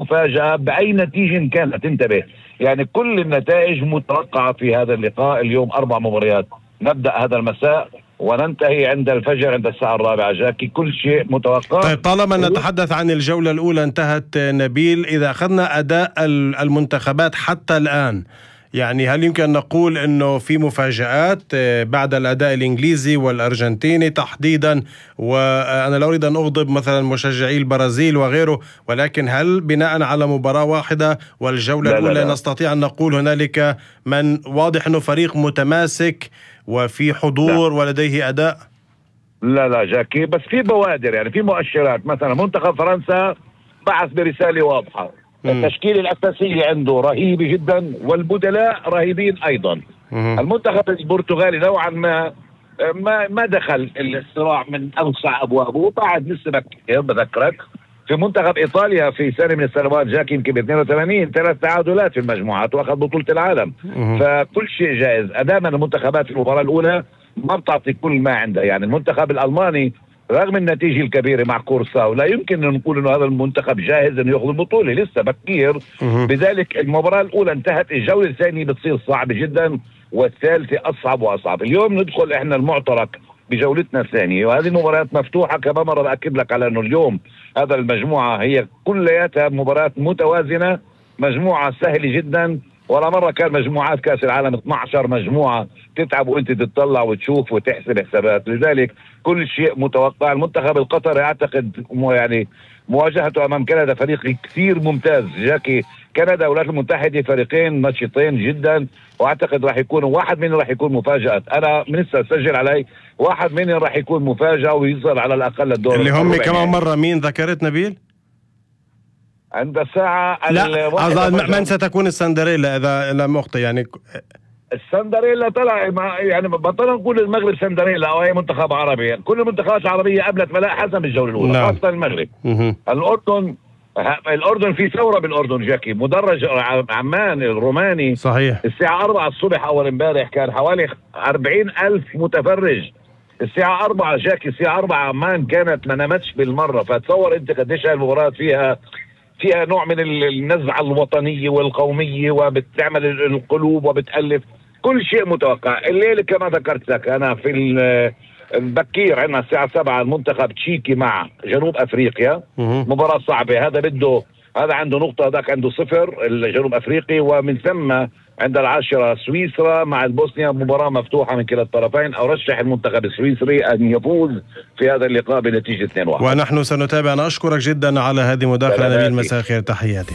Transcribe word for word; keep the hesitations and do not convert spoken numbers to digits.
مفاجأة بأي نتيجة كانت. انتبه، يعني كل النتائج متوقعة في هذا اللقاء. اليوم أربع مباريات، نبدأ هذا المساء وننتهي عند الفجر عند الساعة الرابعة. جاكي كل شيء متوقع. طيب، طالما نتحدث عن الجولة الأولى انتهت نبيل، إذا أخذنا أداء المنتخبات حتى الآن، يعني هل يمكن نقول أنه في مفاجآت بعد الأداء الإنجليزي والأرجنتيني تحديدا؟ وأنا لا أريد أن أغضب مثلا مشجعي البرازيل وغيره، ولكن هل بناء على مباراة واحدة والجولة لا الأولى لا لا. نستطيع أن نقول هنالك من واضح أنه فريق متماسك وفي حضور لا. ولديه أداء؟ لا لا جاكي، بس في بوادر، يعني في مؤشرات. مثلا منتخب فرنسا بعث برسالة واضحة، التشكيل الأساسي عنده رهيب جدا والبدلاء رهيبين أيضا. مم. المنتخب البرتغالي نوعا ما ما ما دخل الصراع من أوسع أبوابه، بعد لسه بكير. بذكرك في منتخب إيطاليا في سنة من السنوات جاكي يمكن ب اثنين وثمانين ثلاث تعادلات في المجموعات وأخذ بطولة العالم. مم. فكل شيء جائز أدام المنتخبات في المباراة الأولى ما بتعطي كل ما عندها. يعني المنتخب الألماني رغم النتيجة الكبيرة مع كورساو لا يمكن أن نقول أنه هذا المنتخب جاهز أن يأخذ البطولة، لسه بكير. بذلك المباراة الأولى انتهت، الجولة الثانية بتصير صعبة جدا والثالثة أصعب وأصعب. اليوم ندخل إحنا المعترك بجولتنا الثانية، وهذه المباريات مفتوحة. كما مرة بأكد لك على أنه اليوم هذا المجموعة هي كلياتها مباريات متوازنة، مجموعة سهلة جدا. ولا مرة كان مجموعات كأس العالم اثنتي عشرة مجموعة تتعب وانت تطلع وتشوف وتحسب حسابات. لذلك كل شيء متوقع. المنتخب القطري اعتقد يعني مواجهته امام كندا فريق كثير ممتاز. جاكي كندا والولايات المتحدة فريقين نشيطين جدا، واعتقد راح يكون واحد منهم راح يكون مفاجأة. انا من لسه اسجل علي واحد منهم راح يكون مفاجأة ويصل على الاقل الدور اللي هم كمان مرة مين ذكرت نبيل؟ عند الساعة لا من ستكون السندريلا إذا لم أخطئ؟ يعني السندريلا طلع يعني بطلنا نقول المغرب سندريلا أو أي منتخب عربي. كل المنتخبات العربية قبلت ملاء حسب الجولة الأولى. نعم. خاصة المغرب. مه. الأردن الأردن في ثورة بالأردن جاكي. مدرج عمان الروماني صحيح الساعة أربعة الصبح أول امبارح كان حوالي أربعين ألف متفرج. الساعة أربعة جاكي الساعة أربعة عمان كانت ما نامتش بالمرة. فتصور أنت قديش هالمباراة فيها فيها نوع من النزعة الوطنية والقومية وبتعمل القلوب وبتألف كل شيء متوقع. الليلة كما ذكرت لك أنا في البكير عندنا الساعة سبعة المنتخب تشيكي مع جنوب أفريقيا. مباراة صعبة. هذا بده هذا عنده نقطة هذاك عنده صفر الجنوب أفريقي. ومن ثم عند العاشرة سويسرا مع البوسنيا. مباراة مفتوحة من كلا الطرفين. أرشح المنتخب السويسري أن يفوز في هذا اللقاء بنتيجة اثنين واحد. ونحن سنتابع. أنا أشكرك جدا على هذه المداخلة نبيل. مساء الخير، تحياتي.